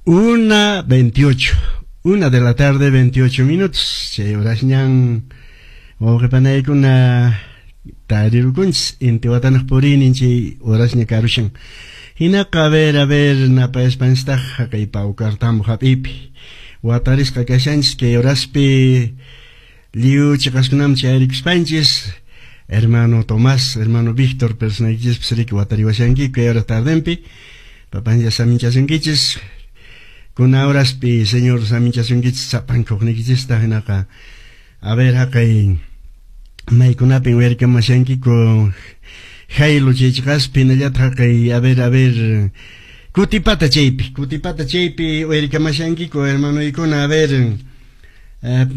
1:28. 1 de la tarde, 28 minutos. Chay horasñan wawqipanaykuna tarirukunchis intiwatanaq puriynin chay horasña karushan. Hinaqa a ver napayaspanchistaq haqay Paucartambo hap'iypi. Watarisqa kashanchis kay horaspi lliw chiqaskunaman chayarikuspanchis. Hermano Tomás, hermano Víctor, personaykichispis riki watariwashankiku kay hora tardenpi. Papancha saminchasunkichis. Kuna horaspi Señor saminchasunkichis sapankuqniykichista hinaqa. A ver haqay maykunapin uyarikamashankiku Jailo chay chiqaspi hinallataq haqay a ver Cutipata chaypi uyarikamashankiku hermanoykuna, a ver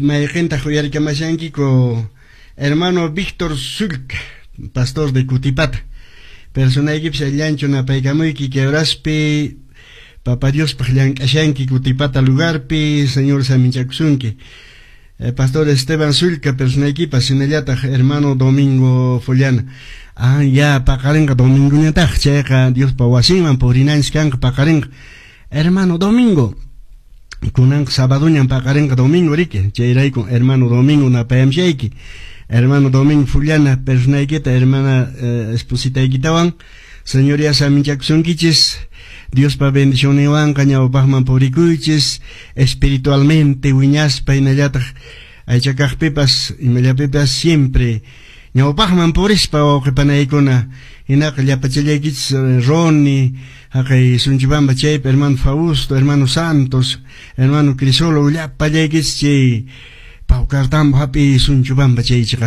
mayqintaq uyarikamashankiku hermano Víctor Sulca, pastor de Cutipata. Personaykipis allanchu napaykamuyki kay horaspi Papa Diospaq llank'ashanki Cutipata lugarpi, Señor saminchakusunki. Pastor Esteban Sulca, personaykipas, hinallataq hermano Domingo Follana. Ah, ya paqarinqa domingoñataq chayqa Diospa wasinman purinanchis kanqa paqarinqa. Hermano Domingo, kunanqa sabadoñan paqarinqa domingo riki, chayrayku hermano Domingo napayamshayki. Hermano Domingo Fullana, personaykita, hermana espositaykitawan, Señor ya saminchakusunkichis. Diospa bendicionninwanqa ñawpaqman purikuychis, espiritualmente wiñaspa hinallataq aychakaqpipas imallapipas siempre ñawpaqman purispa wawqipanaykuna. Hinaqa llapachallaykichis Roni, haqay Sunchibamba chaypi hermano Fausto, hermano Santos, hermano Crisolo, llapallaykichis chay Paucartambo hap'i Sunchubamba chay chiqas.